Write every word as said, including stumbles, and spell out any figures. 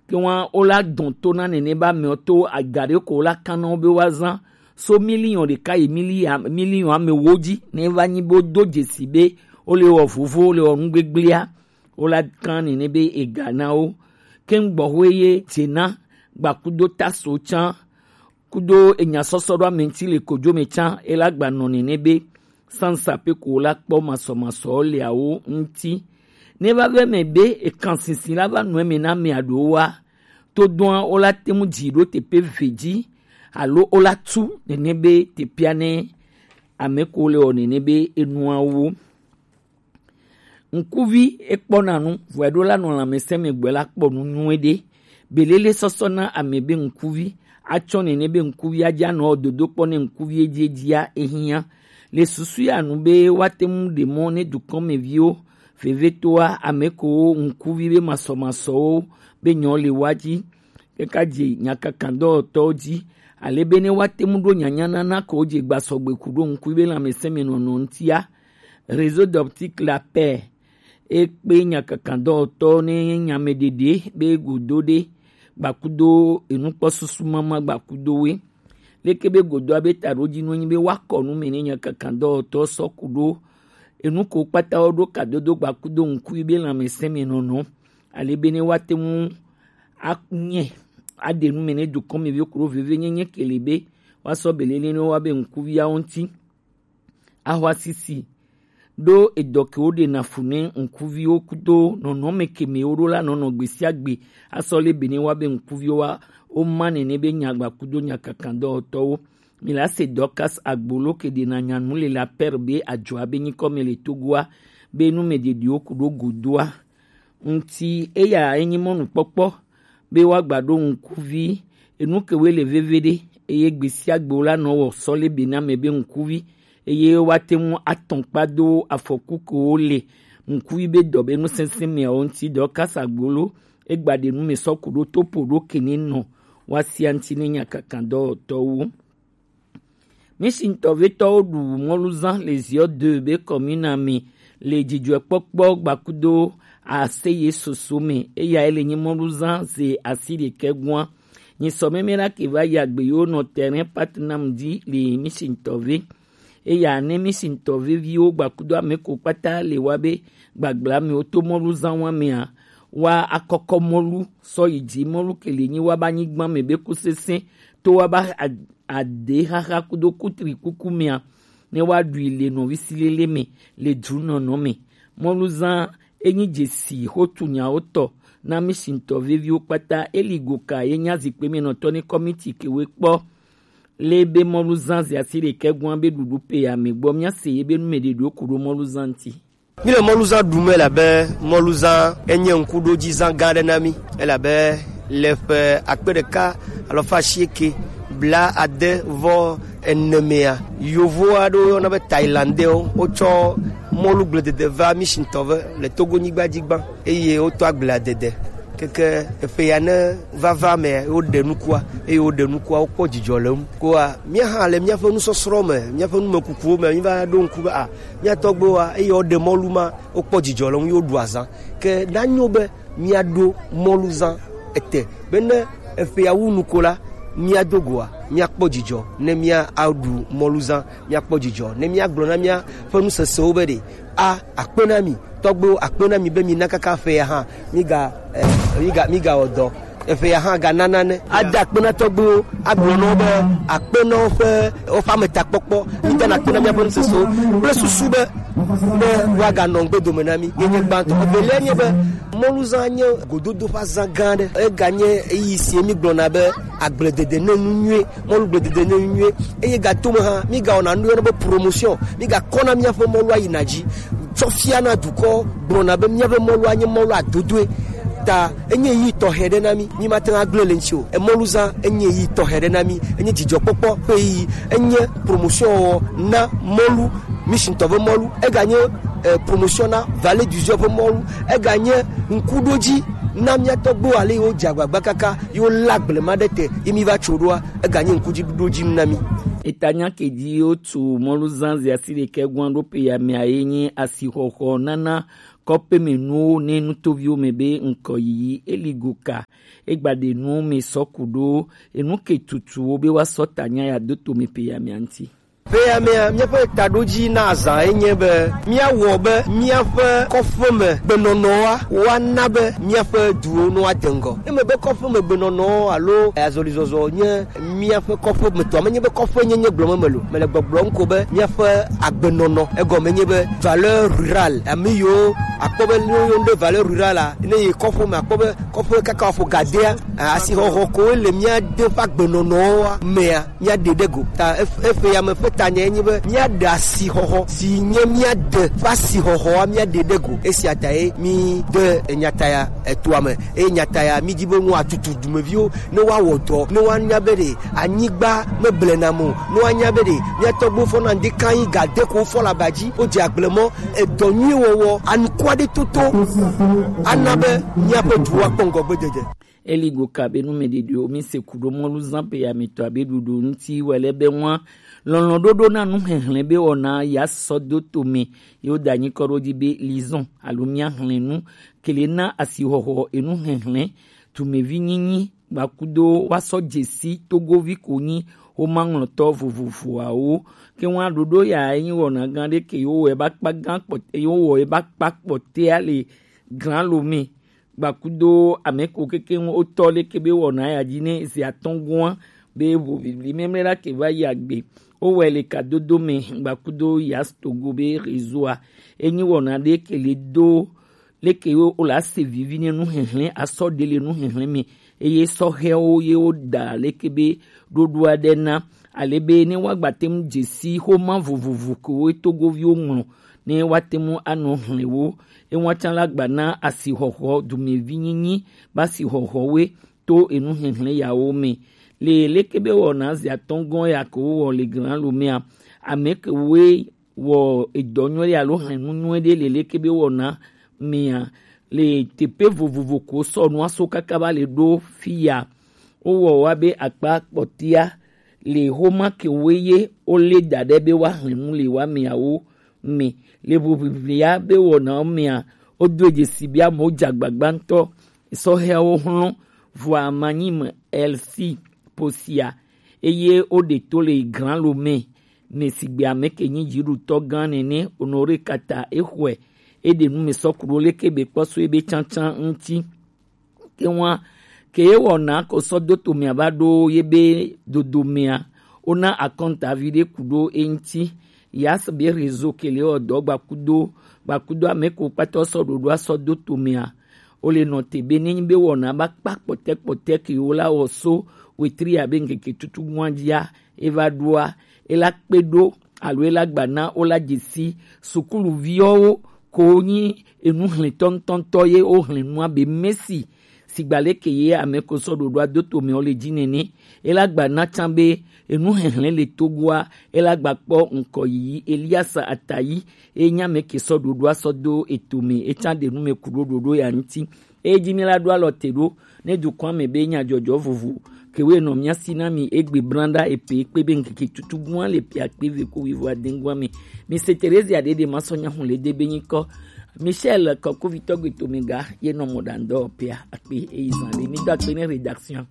ke wa o la dɔn to na nene ba mɛ to agare ko la kan na o be wa zan so miliɔn ɖeka yi miliɔn miliɔn ame wo ji ne va nyi bo do dzesi be o le wɔ vovo, o le wɔ nu gbegblea, o la kan nene be ega na wo. Ke ŋgbɔ ho ye dze na gbakudo taso can kudo enya sɔsɔ ɖo ame ŋuti le kojo me can, e la gba nɔ nene be sansa pe ko la kpɔ masɔmasɔ le awo ŋuti. Ne va vɛ mɛ be ekan sinsin la va nɔ eme na mɛ aɖo wa, to dɔn o la te ŋu dzi ɖo teƒe ve dzi alo o la tu nene be teƒea ne ame ko le wɔ nene be enua wo. Ŋkuvi ekpɔna nu, vɔe ɖo la nɔ lãmesẽ me gbɔe la kpɔ nu nyuie ɖe. Belele sɔsɔ na ame be ŋkuvi atsɔ nene be ŋkuvi adza nɔ dodo kpɔ ne ŋkuvi edzi edzia ehiã. Le susu ya nu be woate ŋu ɖe mɔ ne dukɔmeviwo vevetoa ame ko ŋkuvi be masɔmasɔwo be nyɔ le wa dzi. Kaka dze nyakakadɔwɔtɔwo dzi, ale be ne woate ŋu ɖo nyanyanana ko dze gbasɔgbe ku ɖo ŋkuvi be lãmesẽ me nɔnɔ ŋutia. Réseau d'optique la paix ekpe nyakakadɔwɔtɔ ne nyameɖeɖe be godo ɖe gbakudo enukpɔsusu mama gbakudowoe. Leke be godoa be taɖodzi nu enyi be woakɔ nu me ne nyakakadɔwɔtɔ sɔ ku ɖo enu ko kpata wo ɖo kadodo gbakudo ŋkui be lãmesẽ me nɔnɔ, ale be ne woate ŋu anye aɖe nu me ne dukɔmeviwo ku ɖo vevienyenye ke li be woasɔ belele ne woa be ŋkuviawo ŋuti. Ahwa sisi ɖo edɔ ke woɖena fu ne ŋkuviwo kudo nɔnɔme ke me woɖo la nɔnɔ gbe sia gbe asɔ le be ne woa be ŋkuviwo wa woma nene be nyagba kudo nyakakadɔwɔtɔwo. Mi la se Dorcas Agbolo ke ɖena nyanu le la per be adzɔa be nyikɔ me le Togoa be nu me ɖeɖiwo ku ɖo godoa ŋuti eya enyi mɔnukpɔkpɔ be woagba ɖo ŋkuvi enu ke woe le veve ɖe eye gbe sia gbe wo la nɔ wɔ sɔ le be na me be ŋkuvi eye woate ŋu atɔn kpa do afɔku ke wo le ŋkuvi be dɔ be nusɛsɛ meawo ŋuti dɔ kasa gbolo egba ɖe nu me sɔ ku ɖo topo ɖo kene nɔ woasia ŋuti ne nyakakadɔwɔtɔwo. Mishintɔ vetɔwo ɖu mɔluzan le ziɔ de be kɔmina me le dzidzɔkpɔkpɔ gbakudo aseye soso me eya ele nyi mɔluzan ze asi ɖekɛ gua. Nyi sɔ meme la ke va yi agbe yo nɔ terrain Patnam di le Mishintɔ ve. Eya ne Mishintɔ veviwo gbakudo ame ko kpata le wa be gbagblame wo to mɔluzan wa mea wa akɔkɔ mɔlu sɔ yi dzi mɔlu ke le nyi wa ba nyigba me be ku sese to wa ba a- aɖehaha kudo kutrikuku mea, ne woaɖui le nɔvi silele me le dzunɔnɔ me. Mɔluzã enyi dzesi xotu nyawo tɔ na mishintɔ veviwo kpata. Eli goka ye nya zikpe me nɔtɔ ne kɔmiti kewe kpɔ le be mɔluzã ze asi ɖekɛ gua be ɖuɖu pe ya me gbɔ mia se ye be nume ɖeɖewo ku ɖo mɔluzã ŋuti. Míle mɔluzã ɖum elabe mɔluzã enye ŋkuɖodzizã gã aɖe na mí, elabe le ƒe akpe ɖeka alafa asieke blaade vɔ ene mea, yovo aɖewo yɔna be Thailandais-wo, wotsɔ mɔlu gbledede va mí sitɔ ve le Togo nyigba dzi gbã, eye wotɔ agbledede. Keke eƒe ya ne vava mea, woɖe nukua, eye woɖe nukua, wokpɔ dzidzɔ le eŋu. Koa, mía hã le míaƒe nusɔsrɔ̃ me, míaƒe numekukuwo me, míva ɖo ŋku be, a, mía tɔgbuiwoa, eye woɖe mɔlu ma, wokpɔ dzidzɔ le eŋu, ye woɖu azã. Ke nanyo be míaɖo mɔluzã ete, be ne eƒea wu nu ko la, míado goa, míakpɔ dzidzɔ, ne míaɖu mɔluzã, míakpɔ dzidzɔ, ne míagblɔ na míaƒe nusesewo be ɖe, a, akpe na mi, tɔgbuiwo, akpe na mi be mina kaka ƒea hã, míga, eh, míga, mígawɔ dɔ. Eƒe ya hã gana nane. Ada akpe na tɔgbuiwo, agblɔ na wo be akpe na woƒe, woƒe ametakpɔkpɔ. Mídana akpe na míaƒe nusesewo kple susu be, be woaganɔ ŋgbe dome na mí. Ye nye gbãtɔ. Evelia nye be, mɔluzã nye gododo ƒe azã gã aɖe. Eganye ɣeyiɣi si mígblɔna be agbledede ne nu nyuie, mɔlugbledede ne nu nyuie. Eye gatome hã, mígawɔna nu yɔna be promotion. Mígakɔna míaƒe mɔlua yina dzi. Tsɔ fia na dukɔ gblɔna be míaƒe mɔlua nye mɔlu adodoe. Ta enye ɣeyiɣi tɔxɛ ɖe na mí, mímate ŋu agblẽ le ŋuti o. Emɔluzã enye ɣeyiɣi tɔxɛ ɖe na mí, enye dzidzɔkpɔkpɔ ƒe ɣeyiɣi, enye promotion wɔ na mɔlu, mísitɔ ƒe mɔlu, eganye, eh, promotion na Vallée du Zio ƒe mɔlu, eganye ŋkuɖodzi na mía tɔgbuiwo ale yiwo dze agbagba kaka yiwo lé agblema ɖe te yi míva tso ɖoa, eganye ŋkuɖodzinu na mí. Etanya ke dzi wotu mɔluzã zi asi ɖekɛ gɔ̃a ɖo pe ya mea ye nye asixɔxɔ nana kɔƒemɛnuwo ne nutoviwo mɛ be ŋkɔ yiyi. Eli go ka egba ɖe nu mɛ sɔ ku ɖo enu ke tutuwo be wa sɔ ta nya ya do to mɛ pe ya mɛ anti. Pe ya mɛ, míaƒe taɖodzi na azã ye nye be míawɔ be míaƒe kɔƒeme gbenɔnɔa woana be míaƒe duwo no ade ŋgɔ. Eme be kɔƒeme gbenɔnɔ alo azɔlizɔzɔ nye míaƒe kɔƒe me tɔ. Menye be kɔƒe nyenye gblɔm mele o. Mele gbɔgblɔm ko be míaƒe agbenɔnɔ. Egɔme nye be valeur rurale. Ame yiwo akpɔ be ne woyɔna ɖe valeur rurale a, ne yi kɔƒe me akpɔ be kɔƒe kaka wòƒo gadea, asixɔxɔ ko le mía de ƒe agbenɔnɔa mea, mía ɖe ɖe go. Ta ef-, eƒe ya me ƒe tanya ye nye be míaɖe asixɔxɔ si nye mía de ƒe asixɔxɔa mía ɖe ɖe go. Esia ta ye mí de enyata ya etoa me. Eye nyata ya, mídi be nu atutu dumeviwo ne woawɔ dɔ, ne woanya be ɖe anyigba meblena mo, ne woanya be ɖe mía tɔgbuiwo fɔna ŋdi kan yi ga de ko wofɔ le aba dzi, wodze agble mɔ, edɔ nyui wɔwɔ, anuku aɖe toto ana be míaƒe duwo akpɔ ŋgɔgbedede. Eli go ka be numɛɖeɖewo mi se ku ɖo mɔlu zã pe ya mi tɔ abe ɖuɖu ŋuti wɔ le be ŋua lɔlɔ̃ ɖoɖo na nuxexlẽ be wɔna ya sɔ do to me ye woda anyi kɔ ɖo dzi be lizɔn alo mía xlẽ nu kele na asixɔxɔ enu xexlẽ, tumevi nyinyi, gbakudo wa sɔ dzesi togovi ko nyi womaŋlɔtɔ vovovoawo. Ke ŋua ɖoɖo ya enyi wɔna gã ɖe ke yewo wɔ eba kpa gã kpɔtɛ, yewo wɔ eba kpa kpɔtɛa le gran lo me. Gbakudo ame ko kekeŋ wotɔ leke be wɔna ya dzi ne zi atɔ̃ gɔ̃a be ʋu vivi mɛmlɛ la ke va yi agbe. Wowɔe le kadodo me gbakudo Yas Togo be réseau-a. Enyi wɔna ɖe ke le do leke wo la se vivi ne nuxexlẽ asɔ ɖe le nuxexlẽ me. Eye sɔhɛwo ye woda leke be ɖoɖo aɖe na ale be ne woagba te ŋu dze si xoma vovovo kewo togoviwo ŋlɔ ne woate ŋu anɔ xlẽ wo. Ewa tsã la gba na asixɔxɔ dumevi nyinyi ba asixɔxɔwoe to enu xexlẽ yawo me. Le leke be wɔna zi atɔ̃ gɔ̃ ya ko wowɔ le gran lo mea, ame kewoe wɔ edɔ nyuie ɖe alo xlẽ nu nyuie ɖe le leke be wɔna mea, le teƒe vovovo ko sɔ nua so kaka va le ɖo fi ya. Wowɔ wa be akpa kpɔtɛa le xoma kewoe ye wole da ɖe be woaxlẽ nu le wa meawo me. Le ʋuʋiʋlia be wɔnawo mea, wodo dzesi be amewo dze agbagba ŋutɔ. Sɔhɛawo xlɔ̃ vɔa manyi me Elsi posia, eye woɖe to le gran lo me, me sigbe ame ke nyi dziɖutɔ gã nene, Honoré Kata exɔe, eɖe nu me sɔ ku ɖo leke be kpɔ so ebe tsantsan ŋuti. Ke ŋua, ke ye wɔna ko sɔ do to mea va ɖo ye be dodo mea, wona akɔnta vi ɖe ku ɖo eŋuti. Yas be réseau ke le wɔ dɔ gbakudo, gbakudo ame ko kpata sɔ ɖoɖo asɔ do to mea. Wole nɔ te be nenyi be wɔna ba kpa kpɔtɛ kpɔtɛ ke wo la wɔ so wetri abe ŋkeke tutu gua dzia, eva ɖoa, ela kpe ɖo alo ela gba na wo la dzesi sukuluviwo ko nyi enu xlẽtɔ ŋutɔŋutɔ ye wo xlẽ nua be mesi sigba leke ye ame ko sɔ ɖoɖoa do to me wo le dzi nene. Ela gba na tsã be enu xexlẽ le Togoa, ela gba kpɔ ŋkɔ yiyi Eliasa Atayi, e nya me ke sɔ ɖoɖoa sɔ do eto me, e tsã ɖe nu me ku ɖo ɖoɖo ya ŋuti. Eyi dzi mi la ɖo alɔ te ɖo ne dukɔa me be nyadzɔdzɔ vovo kewoe nɔ mía si na mi egbe blanɖa epe kpe be ŋkeke tutu gua le pia kpe ve ko wivo adengua me. Mi se Terezia ɖeɖe ma sɔ nya hun le de be nyikɔ. Michel Kɔkovitɔ gbe to me ga ye nɔ mɔ ɖandɔ pia akpe eyi zan ɖe mi do akpe ne rédaction.